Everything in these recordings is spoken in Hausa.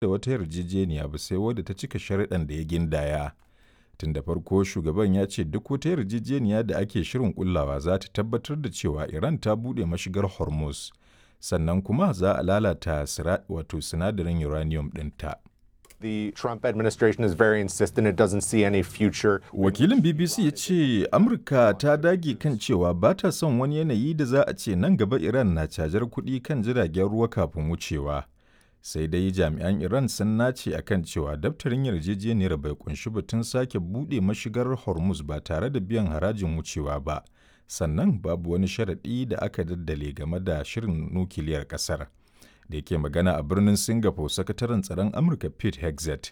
Da wata yarjejeniya ba sai wadda ta cika sharuɗan da ya gindaya. Tun da farko shugaban ya ce duk wata yarjejeniya da ake shirin ƙullawa za ta tabbatar da cewa Iran ta buɗe mashigar Hormuz, sannan kuma za a lalata wato sinadarin uranium ɗinta. The Trump administration is very insistent it doesn't see any future. Wakilin BBC ya ce Amurka ta dage kan cewa ba ta son wani yanayi da za a ce nan gaba Iran na cajar kuɗi kan jiragen ruwa kafin wucewa. Sai dai jami'an Iran sun nace akan cewa daftarin yarjejeniyar bai kunshi batun sake buɗe mashigar Hormuz ba tare da biyan harajin wucewa ba. Sannan babu wani sharaɗi da aka daddale game da shirin nukiliyar ƙasar. Da yake magana a birnin Singapore, sakataren tsaron Amurka Pete Hegseth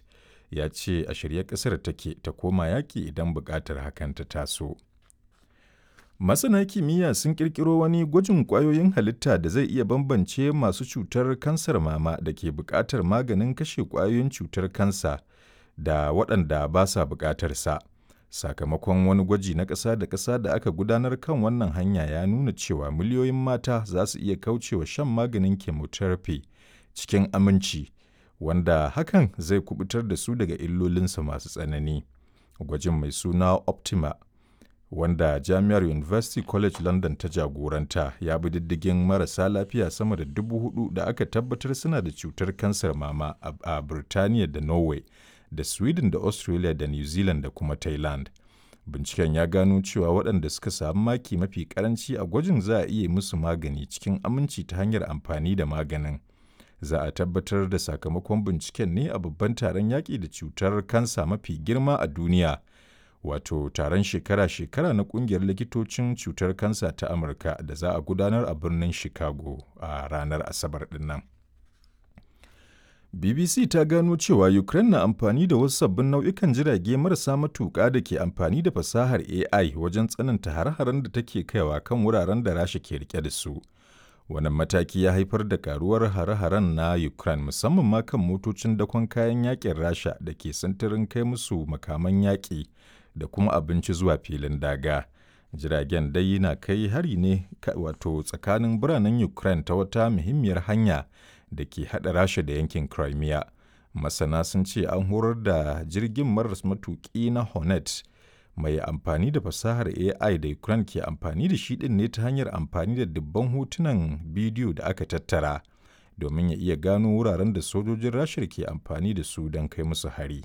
ya ce a shirye kasar take ta koma yaƙi idan buƙatar hakan ta taso. Masana kimiyya sun ƙirƙiro wani gwajin ƙwayoyin halitta da zai iya bambance masu cutar kansar mama da ke buƙatar maganin kashe ƙwayoyin cutar kansa da waɗanda ba sa buƙatar sa. Sakamakon wani gwaji na ƙasa da ƙasa da aka gudanar kan wannan hanya ya nuna cewa miliyoyin mata za su iya kaucewa shan maganin chemotherapy cikin aminci, wanda hakan zai kubutar da su daga illolinsa masu tsanani. Gwajin mai suna Optima, wanda Jami'ar University College London ta jagoranta, ya bi diddigin marasa lafiya sama da 4,000 da aka tabbatar suna da cutar kansar mama a Birtaniya da Norway da Sweden da Australia da New Zealand da kuma Thailand. Binciken ya gano cewa waɗanda suka sami maki mafi karanci a gwajin za a iya musu magani cikin aminci ta hanyar amfani da maganin. Za a tabbatar da sakamakon binciken ne a babban taron yaƙi da cutar kansa mafi girma a duniya, wato taron shekara-shekara na ƙungiyar likitocin cutar kansa ta Amurka da za a gudanar a birnin Chicago a ranar Asabar ɗin nan. BBC ta gano cewa Ukraine na amfani da wasu sabbin nau'ikan jirage marasa matuƙa da ke amfani da fasahar AI wajen tsananta hare-haren da take kaiwa kan wuraren da Rasha ke rike da su. Wannan mataki ya haifar da karuwar hare-haren na Ukraine, musamman ma kan motocin dakon kayan yakin Rasha da ke sintirin kai musu makaman yaƙi da kuma abinci zuwa filin daga. Jiragen dai na kai hari ne wato tsakanin biranen Ukraine ta wata muhimmiyar hanya da ke haɗa Rasha da yankin Crimea. Masana sun ce an horar da jirgin maras matuƙi na Hornet mai amfani da fasahar AI da Ukraine ke amfani da shi ɗin ne ta hanyar amfani da dubban hotunan bidiyo da aka tattara domin ya iya gano wuraren da sojojin Rasha ke amfani da su don kai musu hari.